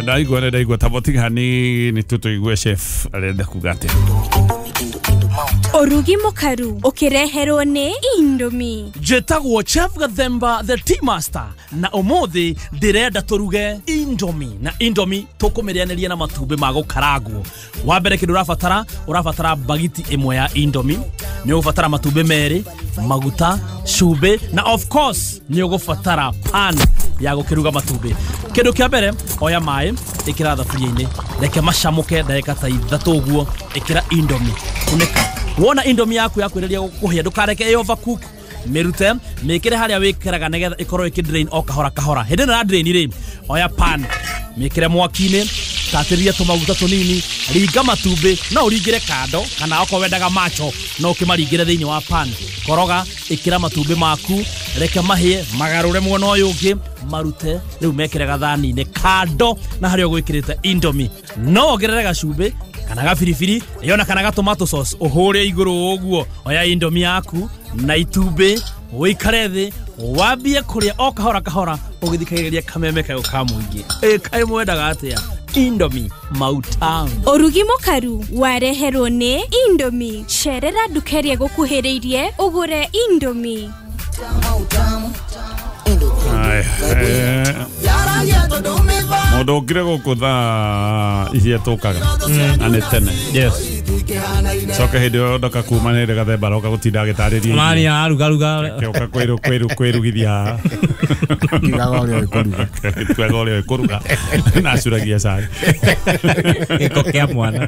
Ndaigua nĩ ndaigua tabotiga ni tũtũigue chef arenda kuga atĩa. Ũrugi mũkaru ũkĩreherwo nĩ Indomie. Njĩtagwo Chef Gathemba the Tea Master na ũmũthĩ ndĩrenda tũruge Indomie na Indomie tũkũmĩrĩanĩria na matumbĩ ma gũkarangwo. Wa mbere kĩndũ ũrabatara bagiti ĩmwe ya Indomie, nĩ ũgũbatara matumbĩ merĩ, maguta, cumbĩ na of course nĩ ũgũbatara pan ya gũkĩruga matumbĩ. Kĩndũ kĩa mbere, oya maĩ, ĩkĩra thaburia-inĩ, reke macamũke ndagĩka ta 3 ũguo, ĩkĩra Indomie, kunĩka. Wona Indomie yaku yakwĩrĩria kũhĩa, ndũkareke ĩ overcook, mĩrute, mĩkĩre harĩa wĩkĩraga nĩgetha ĩkorwo ĩkĩ drain o kahora kahora. Hĩndĩ ĩno ya drain rĩ, oya pan, mĩkĩre mwaki-inĩ, tatĩria tũmaguta tũnini, ringa matumbĩ, no ũringĩre kando kana okorwo wendaga macho no ũkĩmaringĩre thĩinĩ wa pan. Koroga, ĩkĩra matumbĩ maku, reke mahĩe, magarũre mwena ũyũ ũngĩ, marute, rĩu mekĩre gathani-inĩ kando na harĩa ũgwĩkĩrĩte Indomie. No wongerere gacumbĩ kana gabiribiri yona kana tomato sauce ũhũre igũrũ ũguo. Oya Indomie yaku na itumbĩ, ũikare thĩ wambie kũrĩa o kahora kahora ũgĩthikagĩrĩria kameme kayũ ka mũingĩ. Kaĩ mwendaga atĩa? Indomie mautamu. Ũrugi mũkaru wareherwo nĩ Indomie. Cerera nduka ĩrĩa ĩgũkuhĩrĩirie ũgũre Indomie. Mũndũ ũkire gũkũ thaa iria tũkaga na nĩ tene. Yes. Coke hĩndĩ ĩyo ndoka kuma nĩ hĩndĩ Gathemba aroka gũtinda agĩtarĩria. Mani arugaruga. Akĩũka kwĩrugithia haha. Kiugaga ũrĩa ũĩ kũruga. Kiugaga ũrĩa ũĩ kũruga. Na acuragia cai. Gĩko kĩa mwana.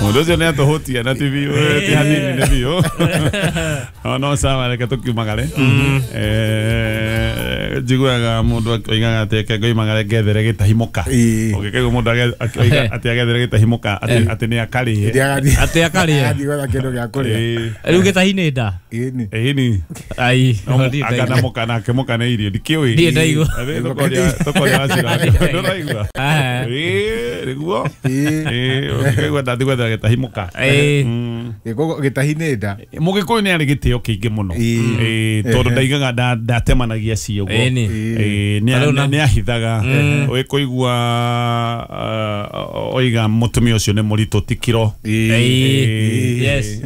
Mũndũ ũcio nĩ atũhũtia na ti biũ, ti hanini nĩ biũ. No sawa, reke tũkiumagare. Njiguaga mũndũ oigaga atĩ reke ngoimagare ngethere gĩtahi mũka. Ũngĩkaigua mũndũ oiga atĩ agethere gĩtahi mũka, atĩ nĩ akarĩe. Atĩ akarĩe. Athiĩ gwetha kĩndũ gĩa kũrĩa. Rĩu gĩtahi nĩ nda? Ĩni. Ai, Aka na mũka nake mũka nĩ irio, ndikĩũĩ. Ndiĩ ndaigua. Tũkoria wacira. Ndũraigua? Ĩĩ, nĩguo. Ĩĩ, ũngĩkaigua ndathiĩ gwetha gĩtahi mũka. Gĩtahi nĩ nda. Mũgĩkũyũ nĩ arĩ gĩtĩo kĩingĩ mũno. Tondũ ndaigaga ndatemanagia cio ũguo. Nĩ ahithaga. Ũgĩkũigua oiga mũtumia ũcio nĩ mũritũ ti kiro. Yes.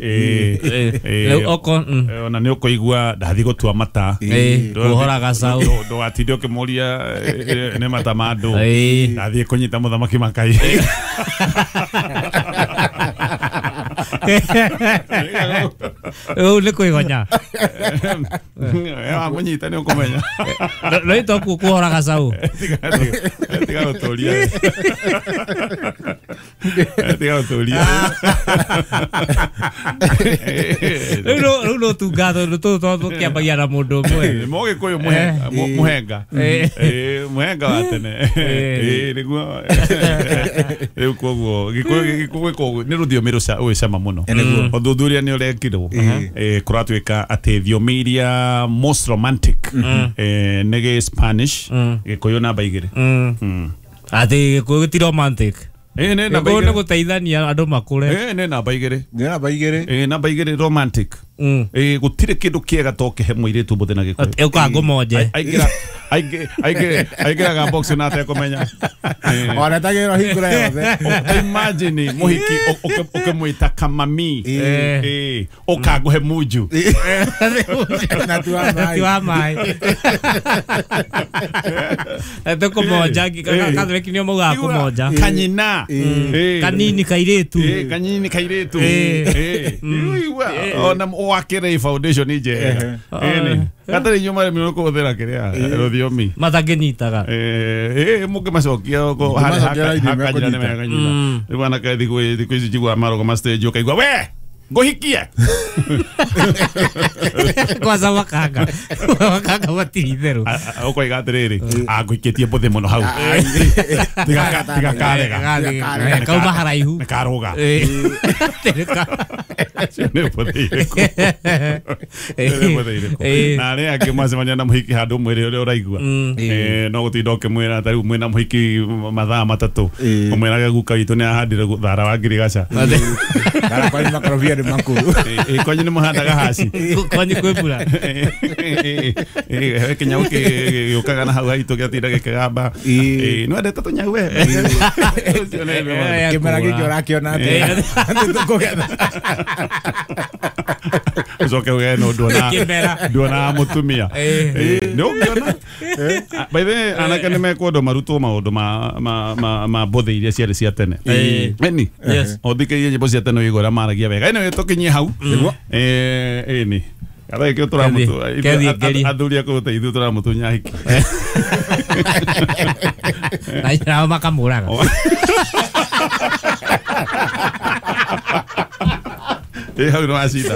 Ona nĩ ũkũigua ndathiĩ gũtua mata. Kũhora gacaũ. Ndũgatinde ũkĩmũria nĩ mata ma andũ. Ndathiĩ kũnyita mũthamaki makai. Rĩu nĩ kwĩgonya. Wamũnyita nĩ ũkũmenya. No itokuo kũhora gacaũ. Tiga gũtũria. Tiga gũtũria. Rĩu no tunga tondũ tũtũ tũkĩambagia na mũndũ ũmwe. Mũgĩkũyũ mũhenga. Mũhenga wa tene. Nĩguo. Rĩu koguo Gĩkũyũ nĩ rũthiomi rwĩ cama mũno. Ũthuthuria nĩ ũrekirwo. Kũratuĩka atĩ thiomi iria most romantic nĩ gĩ Spanish, Gĩkũyũ namba 2. Atĩ Gĩkũyũ ti romantic. Nĩ namba 2. Nĩ gũteithania andũ makũre. Nĩ namba 2. Nĩ namba 2. Namba 2 romantic. Gũtirĩ kĩndũ kĩega to kĩhe mũirĩtu mũthĩ na Gĩkũyũ. Ũka ngũmonje. Aingĩraga box na atekũmenya. Ona tagĩrwo hingũra yothe. Imagine mũhiki ũkĩmwĩta kamami. Ũka ngũhe munju. Na ti wa maĩ. Tũkũmonja Kathoriki nĩo maugaga kũmonja. Kanyina. Kanini kairĩtu. Kanini kairĩtu. Ona wakĩre foundation njega. Gatarĩ inyuĩ marĩmi kũhũthĩra kĩrĩa rũthiomi matangĩnyitaga. Mũngĩmacokia hakanyina nĩ mekanyita. Rĩu anake thikũ ici njiguaga marũgama stage ũkaigua we ngũhikie. Kwanza wakanga. Wakanga matirĩ itherũ. Ũkoiga atĩrĩrĩ, angũikĩtie mbũthĩ mũno hau. Tiga karega. Kauma haraihu. Nĩ karũga. Nĩ mbũthĩ irĩkũ? Nĩ mbũthĩ irĩkũ? Na arĩa angĩ mwacemania na mũhiki handũ mwĩrĩ ũrĩa ũraigua, no gũtinda ũkĩmwĩra ta rĩu mwĩna mũhiki mathaa 3, ũmwĩrage guka witũ nĩ ahandire thara wa ngirigaca. Kana kwanyu makorobia nĩ makũrũ. Kwanyu nĩ mũhandaga haci. Kwanyu kwĩ mbura. Kĩnyau gĩũkaga na hau haitũ gĩatinda gĩkĩgamba. Nĩ wendete tũnyau we? Kĩmera gĩkĩ ũrakĩona atĩa? Tũkũgetha. Ũcoke ũgĩe no nduona mũtumia. Nĩ ũngĩona. By the way, anake nĩ mekwendwo marutwo maũndũ ma mbũthĩ iria ciarĩ cia tene. Ĩni. Ũthikĩrĩrie nyĩmbo cia tene ũigue ũrĩa maragia wega. Anyway, tũkinyie hau. Ĩni. Kada gĩkĩo tũramũtu athuri a kũu ithuĩ tũramũtunya hiki. Nao makamũraga. Hau nĩ wacinda.